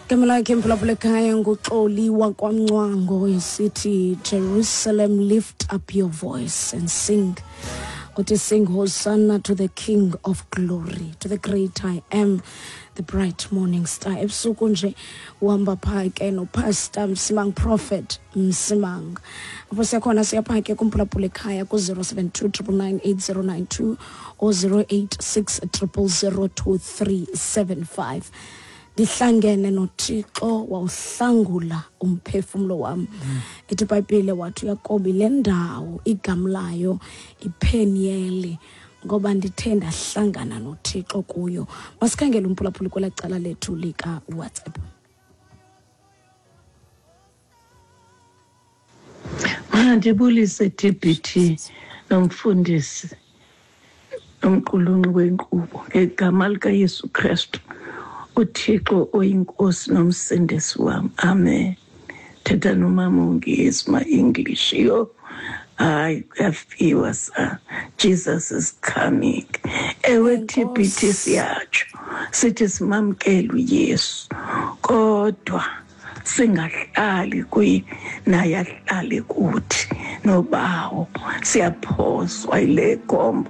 Igama lakhe mphulaphula ekhaya nguXoli wakwaMncwango, esithi, "Jerusalem, lift up your voice and sing." Uthi, "Sing hosanna to the King of glory, to the great I Am, the bright morning star." Ebusuku nje uhamba phaa ke noPastor Msimang, Prophet Msimang. Apho siyakhona, siyapha ke kumphulaphula ekhaya ku-072 999 8092 or 086 000 2375. Ndihlangene noThixo, wawuhlangula umphefumlo wam. Ithi iBhayibhile, wathi uYakobi, le ndawo igama layo iPeniyeli, ngoba ndithe ndahlangana noThixo kuyo. Masikhangele umphulaphuli kwelaa cala lethu likaWhatsApp. Mandibulise, TBT, nomfundisi nomqulunqi wenkqubo, ngegama likaYesu Kristu, uThixo oyiNkosi nomsindisi wam. Amen. Thetha nomama ungezi ma-English. Yho, hayi, kuyafiwa sa. Jesus is coming. Ewe, TBT, siyatsho sithi simamkele uYesu, kodwa singahlali kuye naye ahlale kuthi nobawo. Siyaphoswa yile gombo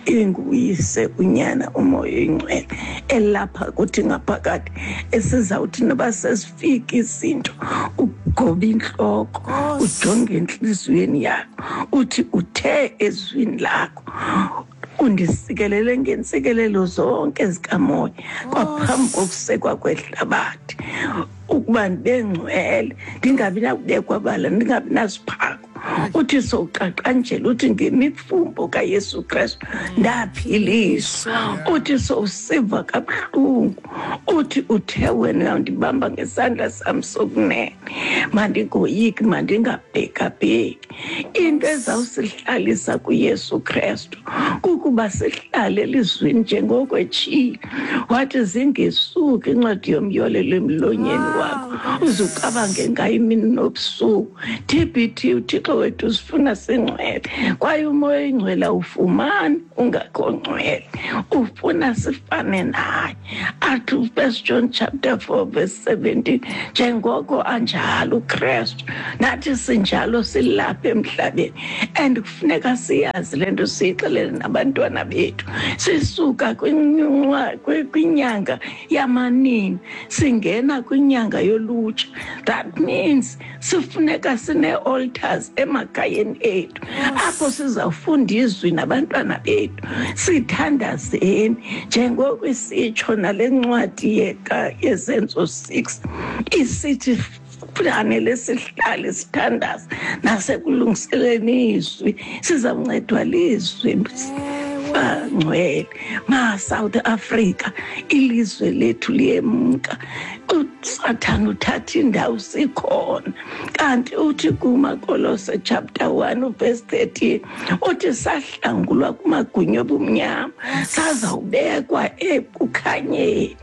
inguyise, uNyana, uMoya Oyingcwele elapha kuthi ngaphakathi, esizawuthi noba sesifika izinto, ugobe intloko, ujonge entliziyweni yakho, uthi uthe ezwini lakho undisikelele ngeentsikelelo zonke zikamoya kwaphambi kokusekwa kwehlabathi, ukuba ndibe ngcwele, ndingabi nakubekwa bala, ndingabi nasiphako. Uthi sowuqaqanjela, uthi ngemifumbo kaYesu Kristu ndaphiliswa. Uthi sowusiva kabuhlungu, uthi uthe wena uyawundibamba ngesandla sam sokunene, mandingoyiki, mandingabhekabheki. Into ezawusihlalisa kuYesu Kristu kukuba sihlale elizwini, njengoko etshilo wathi, "Zingesuki incwadi yomyolelo emlonyeni wakho, uze ucabange ngayo imini nobusuku." TBT, uThixo wethu sifuna singcwele, kwaye uMoya Oyingcwele awufumani ungakho ngcwele. Ufuna sifane naye. Athi First John chapter 4 verse 17, njengoko anjalo uKristu, nathi sinjalo silapha emhlabeni. And kufuneka siyazi le nto, siyixelele nabantwana bethu. Sisuka kwinyanga yamanini, singena kwinyanga yolutsha. That means sifuneka sine-altars emakhayeni ethu, apho sizawufunda izwi nabantwana bethu, sithandazeni njengoko isitsho nale ncwadi yeZenzo 6, isithi fanele sihlale sithandaza nasekulungiseleni izwi. Sizawuncedwa lizwi, bangcwele. Ma South Africa, ilizwe lethu liyemka, uSathana uthatha indawo sikhona. Kanti uthi kumaKolose chapter 1 verse 13, uthi sahlangulwa kumagunya obumnyama, sazawubekwa ekukhanyeni.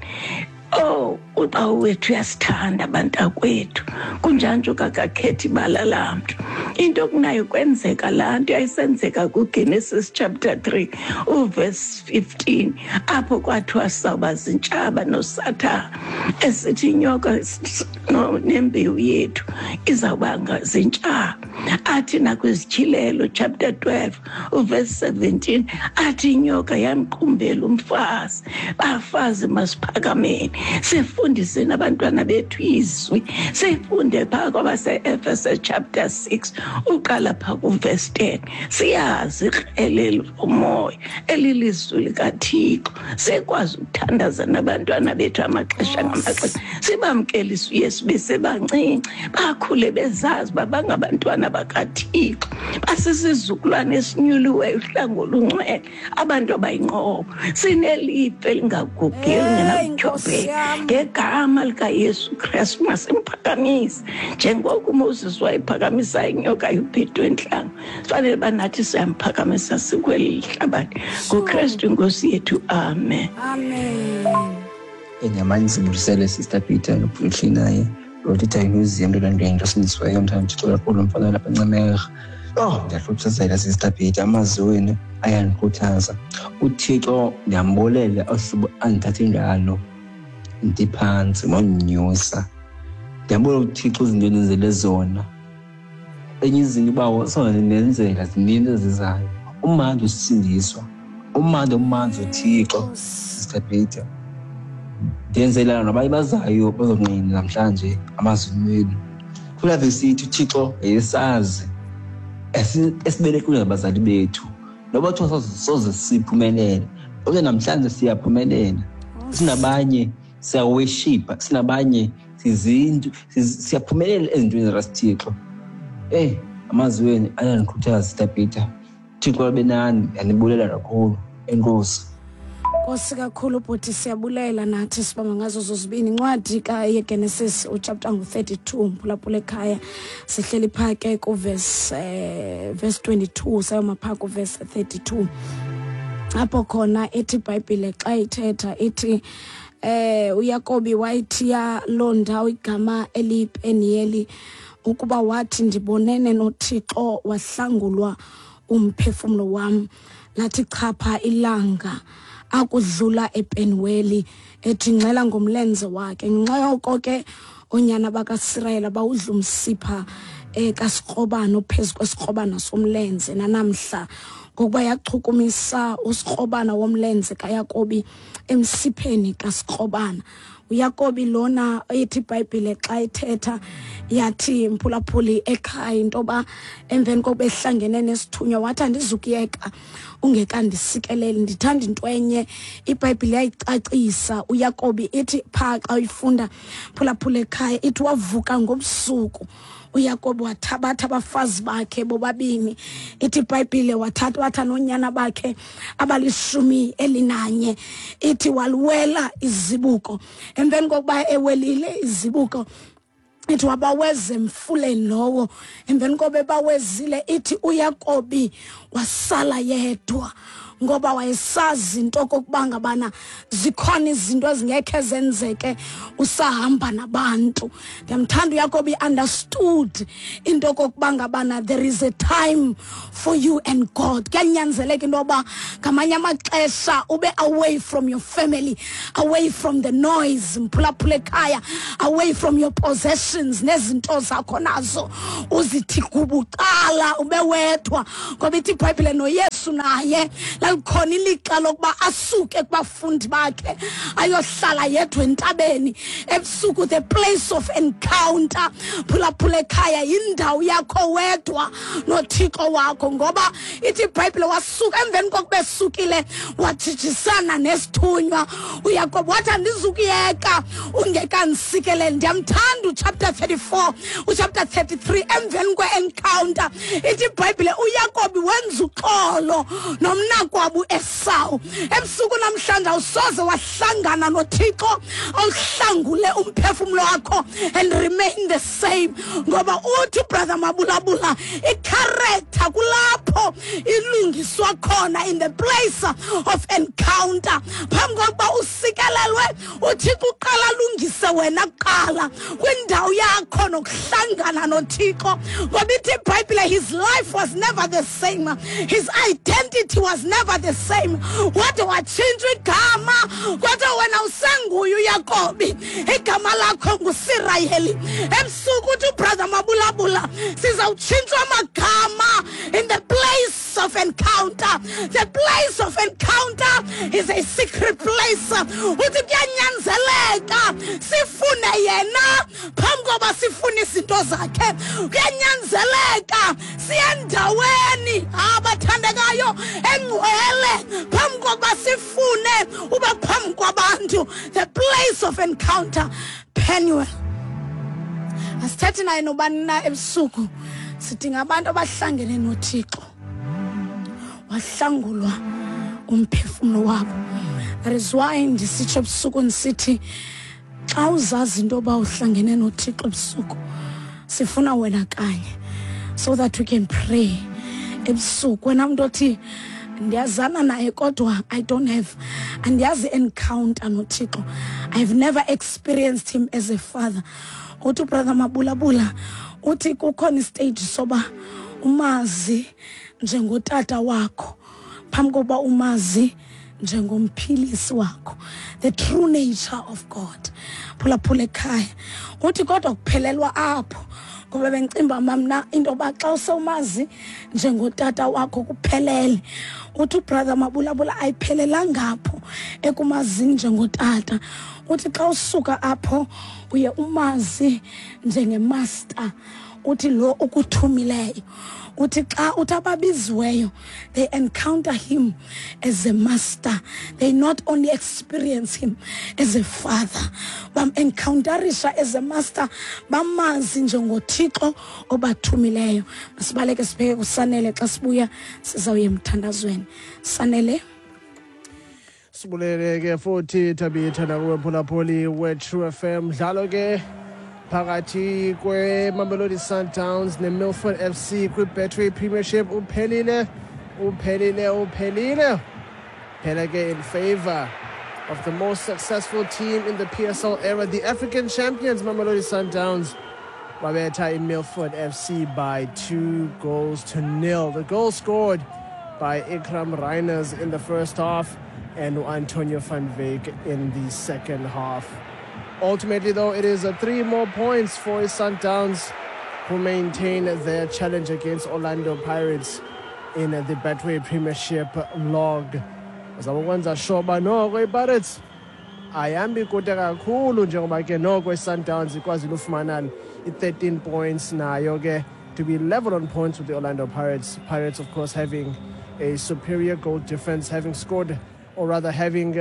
Oh, uBawo wethu uyasithanda, bantakwethu. Kunjanje kakakhethi ibala lamntu. Into kunayo kwenzeka laa nto yayisenzeka kuGenesis chapter 3 uverse 15, apho kwathiwa sawuba zintshaba noSathana, esithi inyoka nembewu yethu izawuba zintshaba. Athi nakwiZityhilelo chapter 12 uverse 17, athi inyoka yamqumbela umfazi. Bafazi, masiphakameni, sifundiseni abantwana bethu izwi. Sifunde phaa kwabase-Efese chapter 6, uqala phaa kuverse 10. Siyazi ikrele lomoya elilizwi likaThixo, sikwazi ukuthandaza nabantwana bethu amaxesha ngamaxesha, sibamkelise uYesu besebancinci, bakhule bezazi uba bangabantwana bakaThixo, basisizukulwane esinyuliweyo, uhlango olungcwele, abantu abayinqobo, sinelifa elingagugiyo, elingenakutyhobheka. Ngegama likaYesu Kristu, masimphakamise njengoko uMoses wayephakamisa inyoka yobhedu entlango. Fanele uba nathi siyamphakamisa sikweli hlabathi, ngoKristu iNkosi yethu. Amen. Amen. Enyamanye sibulisele, Sister Peter, nobhuti naye lo titha imuseum nto osindisiweyo. Mthanda uThixo kakhulu, mfana lapha eNcemerha. Oh, ndiyahluthazela, Sister Peter, amazwi wenu ayandikhuthaza. UThixo ndiyambulela ohlobo andithathe ngalo. Ndiphantsi wandinyusa. Ndiyabona uThixo izinto endenzele zona. Enye izinto uba sozondenzela zininzi ezizayo. Umandi usindiswa, umandi umanzi uThixo, Sister Peter. Ndenzela nabanye bazayo bazonqina namhlanje amazwi wenu. Kula vesi ithi uThixo wayesazi esibelekile ngabazali bethu. Noba kuthiwa soze siphumelele, kodwa namhlanje siyaphumelela. Sinabanye siyaweshipa, sinabanye sizinto, siyaphumelela ezintweni zikaThixo. Amazwi wenu ayandikhuthaza, Sister Peter. Thixo abe nani, ndiyanibulela kakhulu. Enkosi. Nkosi kakhulu bhuti, siyabulela nathi sibamba ngazo zozibini. Incwadi kayeGenesis uchapter ngu-32, mphulaphula ekhaya, sihleli phaa ke kuvesi verse 22 sayoma phaa kuvesi 32, apho khona ithi iBhayibhile xa ithetha ithi uYakobi wayithiya loo ndawo igama eliyiPeniyeli, ukuba wathi ndibonene noThixo wahlangulwa umphefumlo wam. Lathi chapha ilanga akudlula ePenuweli, ethi ngxela ngomlenze wakhe. Ngenxa yoko ke oonyana bakaSirayeli bawudla umsipha kasikrobana ophezu kwesikrobana somlenze nanamhla, ngokuba yachukumisa usikrobana womlenze kaYakobi emsipheni kasikrobana. uYakobi lona ethi iBhayibhile xa ithetha yathi, mphulaphuli ekhaya, into yoba emveni kokuba ehlangene nesithunywa wathi andizukuyeka ungekandisikeleli, ndithanda into enye iBhayibhile yayicacisa uYakobi. Ithi phaa xa uyifunda, phulaphula ekhaya, ithi wavuka ngobusuku uYakobi wathabatha abafazi bakhe bobabini. Ithi iBhayibhile wathatha noonyana bakhe abali-11. Ithi waliwela izibuko. Emveni kokuba ewelile izibuko, ithi wabaweza emfuleni lowo. Emveni koba ebawezile, ithi uYakobi wasala yedwa, ngoba wayesazi into okokuba ngabana zikhona izinto ezingekhe zenzeke usahamba nabantu. Ndiyamthanda uYakobi, understood into okokuba ngabana there is a time for you and God. Kuyanyanzeleka into yoba ngamanye amaxesha ube away from your family, away from the noise, mphulaphula ekhaya, away from your possessions nezinto zakho nazo, uzithi kubucala ube wedwa, ngoba ithi iBhayibhile noYesu naye lalikhona ilixa lokuba asuke kubafundi bakhe ayohlala yedwa entabeni ebusuku. The place of encounter, phulaphula ekhaya, yindawo yakho wedwa noThixo wakho, ngoba ithi iBhayibhile wasuka emveni kokuba esukile wajijisana nesithunywa uYakobi, wathi andizukuyeka ungekandisikeleli. Ndiyamthanda uchapter 34, uchapter 33. Emveni kwe-encounter, ithi iBhayibhile uYakobi wenza uxolo nomnakwabo uEsawu. Ebusuku namhlanje awusoze wahlangana noThixo awuhlangule umphefumlo wakho and remain the same, ngoba uthi brother Mabulabula icharacter kulapho ilungiswa khona, in the place of encounter. Phambi kokuba usikelelwe, uThixo uqala alungise wena kuqala kwindawo yakho nokuhlangana noThixo, ngoba ithi iBhayibhile his life was never the same, his identity was never the same, wade watshintshwa igama. Kodwa wena usenguye uYakobi, igama lakho nguSirayeli. Ebusuku uthi ubrother Mabulabula sizawutshintshwa amagama in the place of encounter. The place of encounter is a secret place. Uthi kuyanyanzeleka sifune yena phambi koba sifune izinto zakhe. Kuyanyanzeleka siye endaweni abathandekayo engcwele phambi kokuba sifune uba phambi kwabantu. The place of encounter, Penuel. Asithethi naye nobani na ebusuku, sidinga abantu abahlangene noThixo wahlangulwa umphefumlo wabo. That is why ndisitsho ebusuku ndisithi xa uzazi into yoba uhlangene noThixo ebusuku, sifuna wena kanye so that we can pray ebusuku. Wena mntu othi ndiyazana naye kodwa I don't have, andiyazi encounter noThixo, I've never experienced him as a father, uthi ubrother Mabulabula uthi kukhona istage soba umazi njengotata wakho phambi kokuba umazi. njengomphilisi wakho, the true nature of God. Phulaphula ekhaya, uthi kodwa kuphelelwa apho, ngoba bengicimba mamna into yoba xa usewumazi njengotata wakho kuphelele. Uthi ubrother Mabulabula ayiphelelanga apho ekumazini njengotata. Uthi xa usuka apho uye umazi njengemaster, uthi lo ukuthumileyo. Uthi xa uthi ababiziweyo, they encounter him as a master. They not only experience him as a father, bam-encounterisha as a master, bamazi njengoThixo obathumileyo. Masibaleke sibheke kuSanele, xa sibuya sizawuya emthandazweni. Sanele. Sibulele ke futhi Thabitha nakuwe mphulaphuli we-True FM. Mdlalo ke phakathi kwe-Mamelodi Sundowns ne-Milford FC kwi-Betway Premiership uphelile, uphelile, uphelile. Phela ke in favor of the most successful team in the PSL era, the African champions Mamelodi Sundowns, babetha i-Milford FC by 2-0. The goal scored by Iqraam Rayners in the first half and Antonio van Wyk in the second half. Ultimately, though, it is 3 more points for Sundowns, who maintain their challenge against Orlando Pirates in the Betway Premiership log. Bazama ukwenza sure uba noko iPirates ayihambi kude kakhulu, njengoba ke noko iSundowns ikwazile ufumana i-13 points nayo ke to be level on points with the Orlando Pirates. Pirates, of course, having a superior goal difference, having scored, or rather having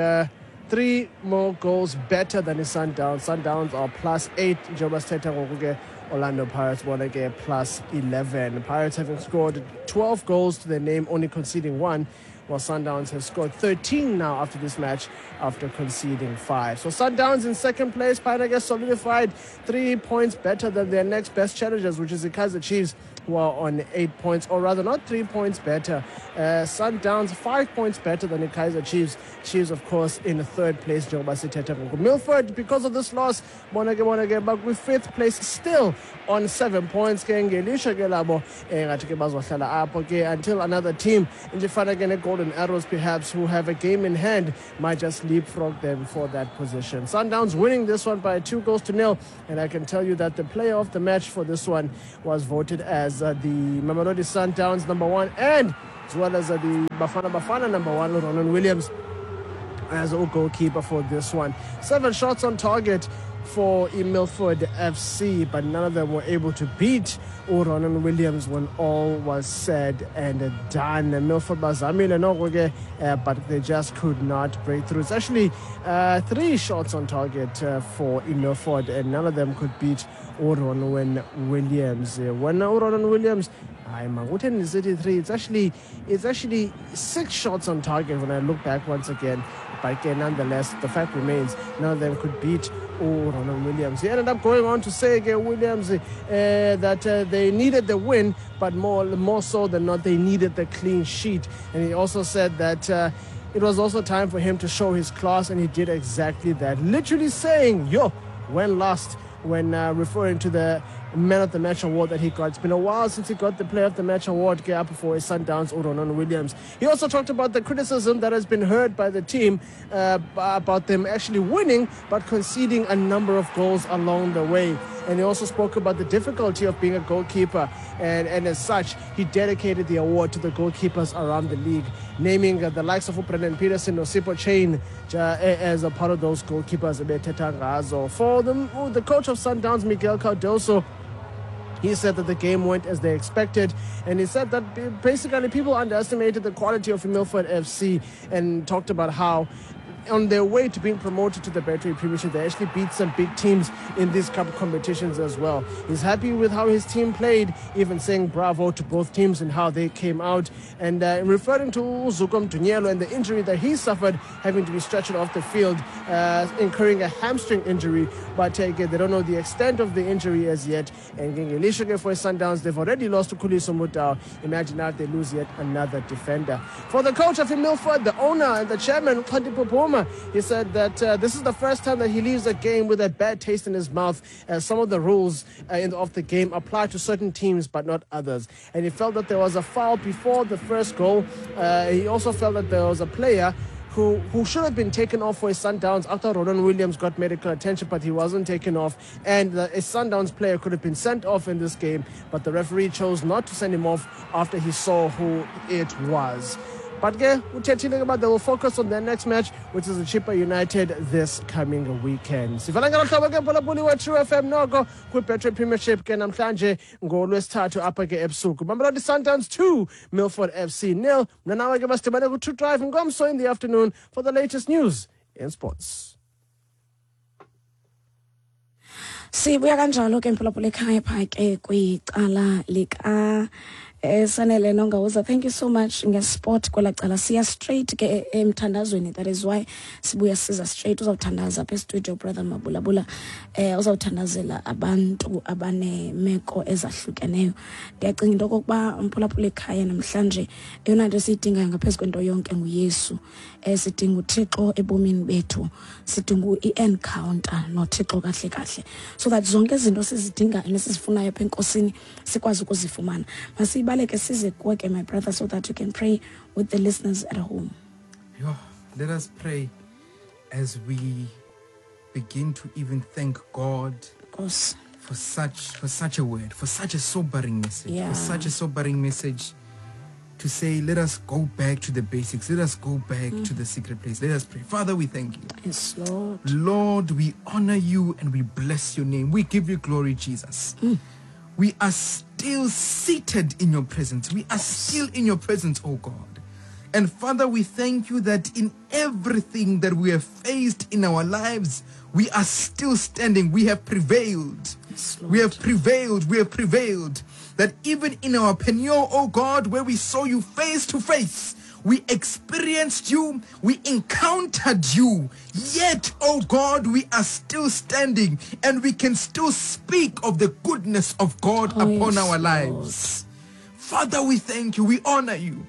3 more goals better than the Sundowns. Sundowns are +8, njengoba sithetha ngoku ke Orlando Pirates bona ke +11. Pirates having scored 12 goals to their name, only conceding 1, while Sundowns have scored 13 now after this match, after conceding 5. So Sundowns in second place, Pirates solidified 3 points better than their next best challengers, which is the Kaizer Chiefs, who are on 8 points, or rather not 3 points better. Sundowns 5 points better than the Kaizer Chiefs. Chiefs, of course, in third place. Njengoba sithetha ngoku. Milford, because of this loss, bona ke bakwi fifth place, still on 7 points. Ke ngelisha ke labo ngathi ke bazohlala apho ke until another team njifana ke ne-Golden Arrows, perhaps, who have a game in hand, might just leapfrog them for that position. Sundowns winning this one by 2-0, and I can tell you that the player of the match for this one was voted as the Mamelodi Sundowns number 1, and as well as the Bafana Bafana number 1, Ronwen Williams, as a goalkeeper for this one. 7 shots on target for Milford FC, but none of them were able to beat Ronwen Williams when all was said and done. Milford bazamile noko ke, but they just could not break through. It's actually 3 shots on target for Milford, and none of them could beat Ronwen Williams. When Ronwen Williams, I'm City 3, it's actually 6 shots on target when I look back once again. But again, nonetheless, the fact remains, none of them could beat Ronwen Williams. He ended up going on to say, again, Williams, that they needed the win, but more so than not, they needed the clean sheet. And he also said that it was also time for him to show his class, and he did exactly that. Literally saying, yo, when lost, when referring to the Man of the Match award that he got. It's been a while since he got the Player of the Match award up for his Sundowns, Ronwen Williams. He also talked about the criticism that has been heard by the team about them actually winning but conceding a number of goals along the way. And he also spoke about the difficulty of being a goalkeeper, and as such, he dedicated the award to the goalkeepers around the league, naming the likes of Brandon Peterson or Sipho Chain as a part of those goalkeepers. For the coach of Sundowns, Miguel Cardoso, he said that the game went as they expected, and he said that basically people underestimated the quality of Milford FC, and talked about how on their way to being promoted to the Betway Premiership, they actually beat some big teams in these cup competitions as well. He's happy with how his team played, even saying bravo to both teams and how they came out. And referring to Zuko Mdunyelwa and the injury that he suffered, having to be stretched off the field, incurring a hamstring injury. But again, they don't know the extent of the injury as yet. And ngelishwa for Sundowns, they've already lost to Khuliso Mudau. Imagine now if they lose yet another defender. For the coach of Milford, the owner and the chairman, Xhanti Pupuma, he said that this is the first time that he leaves a game with a bad taste in his mouth, as some of the rules of the game apply to certain teams but not others. And he felt that there was a foul before the first goal. He also felt that there was a player who should have been taken off for his Sundowns after Ronwen Williams got medical attention, but he wasn't taken off. And a Sundowns player could have been sent off in this game, but the referee chose not to send him off after he saw who it was. But ke uthethile ke uba they will focus on their next match, which is the Chippa United this coming weekend. Sivala ngelo hlobo ke, mphulaphuli we-True FM, noko kwi-Betway Premiership ke namhlanje ngolwesithathu apha ke ebusuku. Mamelodi Sundowns 2, Milford FC 0. Mna nawe ke masidibane ku-True Drive ngomso in the afternoon for the latest news in sports. Sibuya kanjalo ke, mphulaphula ekhaya, phaa ke kwicala lika Sanele Nongawuza. Thank you so much ngesport kwela cala. Siya straight ke emthandazweni, that is why sibuya siza straight. Uzawuthandaza apha estudio brother Mabulabula, uzawuthandazela abantu abaneemeko ezahlukeneyo. Ndiyacinga into okokuba, mphulaphula ekhaya, namhlanje eyona nto esiyidingayo ngaphezu kwento yonke nguYesu. Sidinga uThixo ebomini bethu, sidinga i-encounter noThixo kahle kahle, so that zonke izinto sizidingayo nesizifunayo apha enkosini sikwazi ukuzifumana. Masiyibaleke size kuwe ke, my brother, so that you can pray with the listeners at home. Yo, let us pray as we begin to even thank God Nkosi for such a word, for such a sobering message, for such a sobering message to say, let us go back to the basics. Let us go back to the secret place. Let us pray. Father, we thank you. Yes, Lord. Lord, we honor you and we bless your name. We give you glory, Jesus. We are still seated in your presence. We are still in your presence, oh God. And Father, we thank you that in everything that we have faced in our lives, we are still standing. We have prevailed. Yes, Lord. We have prevailed. We have prevailed. That even in our Peniel, oh God, where we saw you face to face, we experienced you, we encountered you. Yet, oh God, we are still standing and we can still speak of the goodness of God Oh, upon yes, our Lord. lives. Father, we thank you. We honor you.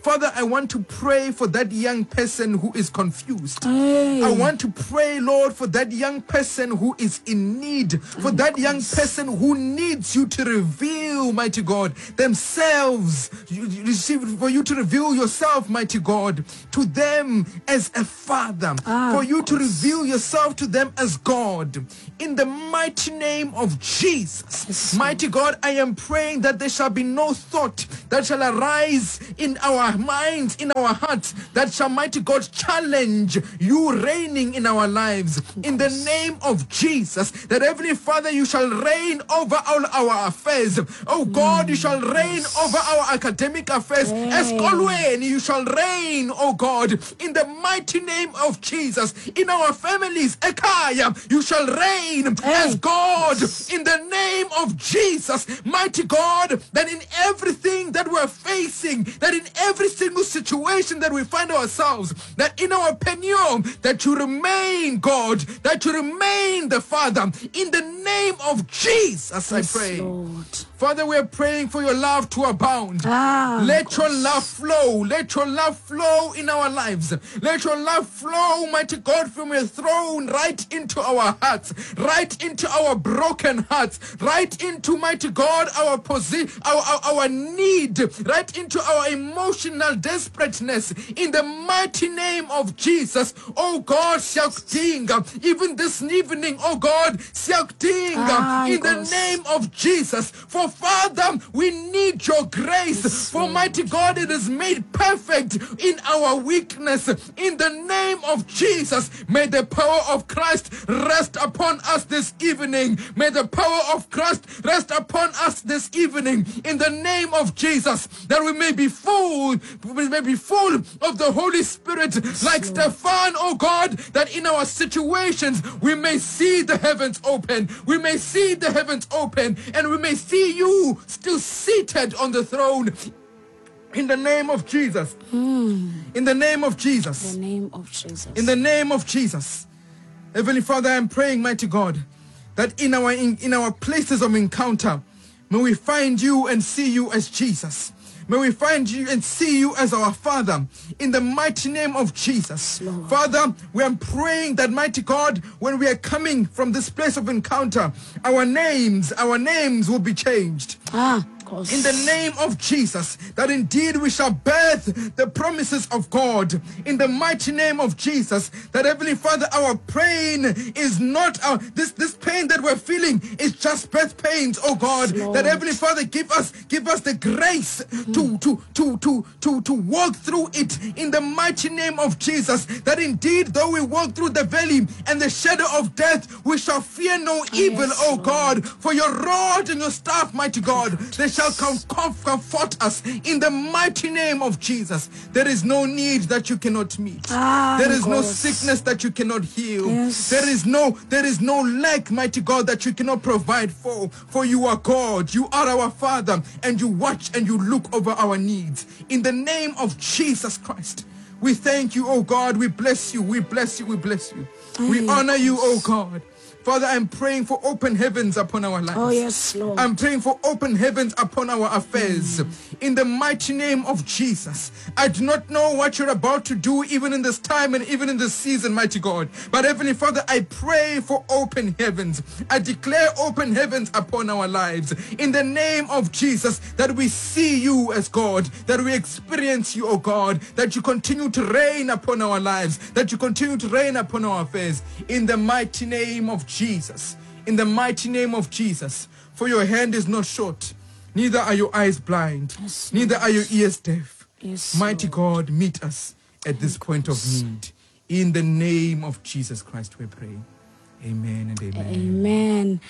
Father, I want to pray for that young person who is confused. Hey. I want to pray, Lord, for that young person who is in need, for that young person who needs you to reveal, mighty God, themselves, for you to reveal yourself, mighty God, to them as a father, for you to reveal yourself to them as God. In the mighty name of Jesus, Yes, mighty God, I am praying that there shall be no thought that shall arise in our minds, in our hearts, that shall, mighty God, challenge you reigning in our lives. In the name of Jesus, that Heavenly Father, you shall reign over all our affairs. Oh God, you shall reign over our academic affairs. Esikolweni, you shall reign, oh God, in the mighty name of Jesus. In our families, ekhaya, you shall reign as God, in the name of Jesus. Mighty God, that in everything that we're facing, that in every single situation that we find ourselves, that in our Peniel, that you remain God, that you remain the Father. In the name of Jesus, I Yes, pray. Lord. Father, we are praying for your love to abound. Let your love flow. Let your love flow in our lives. Let your love flow, mighty God, from your throne right into our hearts, right into our broken hearts, right into, mighty God, our need, right into our emotional desperateness. In the mighty name of Jesus, oh God, siyakudinga. Even this evening, oh God, siyakudinga. In the Nkosi. Name of Jesus. For Father, we need your grace. Yes, For Lord. mighty God, it is made perfect in our weakness. In the name of Jesus, may the power of Christ rest upon us this evening. May the power of Christ rest upon us this evening. In the name of Jesus, that we may be full of the Holy Spirit, like Stephen, oh God, that in our situations we may see the heavens open. We may see the heavens open, and we may see you still seated on the throne. In the name of Jesus. In the name of Jesus. In the name of Jesus. In the name of Jesus. Heavenly Father, I am praying, mighty God, that in our places of encounter, may we find you and see you as Jesus. May we find you and see you as our Father in the mighty name of Jesus. Lord. Father, we are praying that, mighty God, when we are coming from this place of encounter, our names will be changed. Nkosi. Nkosi. In the name of Jesus, that indeed we shall birth the promises of God. In the mighty name of Jesus, that Heavenly Father, our pain is not our, this this pain that we're feeling is just birth pains, oh God. Yes, that Heavenly Father, give us give us the grace to to to to to to walk through it in the mighty name of Jesus. That indeed, though we walk through the valley and the shadow of death, we shall fear no evil, yes, oh Lord. God. For your rod and your staff, mighty God, they shall come comfort us in the mighty name of Jesus. There is no need that you cannot meet. Ah, there is no Nkosi. sickness that you cannot heal. Yes. There is no there is no lack, mighty God, that you cannot provide for. For you are God, you are our Father, and you watch and you look over our needs. In the name of Jesus Christ. We thank you, oh God. We bless you. We bless you. We bless you. We Aye, honor you, oh God. Father, I'm praying for open heavens upon our lives. Oh, yes, Lord. I'm praying for open heavens upon our affairs. In the mighty name of Jesus. I do not know what you're about to do, even in this time and even in this season, mighty God. But Heavenly Father, I pray for open heavens. I declare open heavens upon our lives. In the name of Jesus, that we see you as God, that we experience you, O God, that you continue to reign upon our lives, that you continue to reign upon our affairs. In the mighty name of Jesus. In the mighty name of Jesus. For your hand is not short, neither are your eyes blind, Yes, neither are your ears deaf. Yes, Mighty God, meet us at this point of need. In the name of Jesus Christ, we pray. Amen and amen. Amen.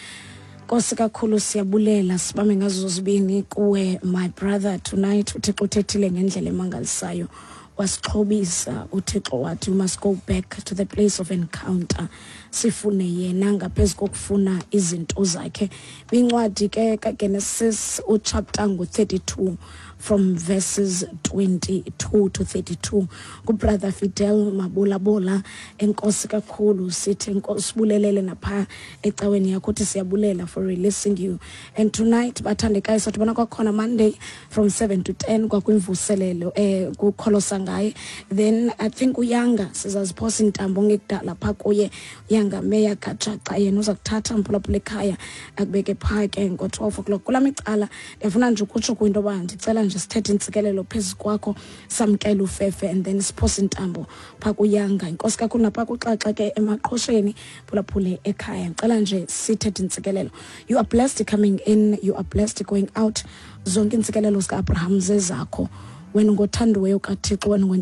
Nkosi kakhulu siyabulela sibambe ngazo zibini kuwe my brother tonight uThixo uthethile ngendlela emangalisayo wasixhobisa uThixo wathi we must go back to the place of encounter sifune yena ngaphezu kokufuna izinto zakhe kwincwadi ke kaGenesis uchapter ngo-32 from verses 22 to 32 kubrother Fidel Mabulabola enkosi kakhulu sithi enkosi sibulelele napha ecaweni yakho uthi siyabulela for releasing you and tonight bathandekayo sadibana kwakhona Monday from 7 to 10 kwakwimvuselelo kukholosa ngaye then I think uyanga sizaziphosa intambo ngekudala pha kuye uyanga meya kajaca yena uza kuthatha mphulaphula ekhaya akubeke phaa ke ngo-12 o'clock kulaa micala ndiyafuna nje ukutsho kwinto yoba ndicela nje sithethe intsikelelo phezu kwakho samkele ufefe and then siphose intambo phaa kuyanga inkosi kakhulu naphaa kuxaxa ke emaqhosheni phulaphule ekhaya ndicela nje sithethe intsikelelo you are blessed coming in you are blessed going out zonke iintsikelelo zika-abraham zezakho wena ungothandiweyo kathixo wena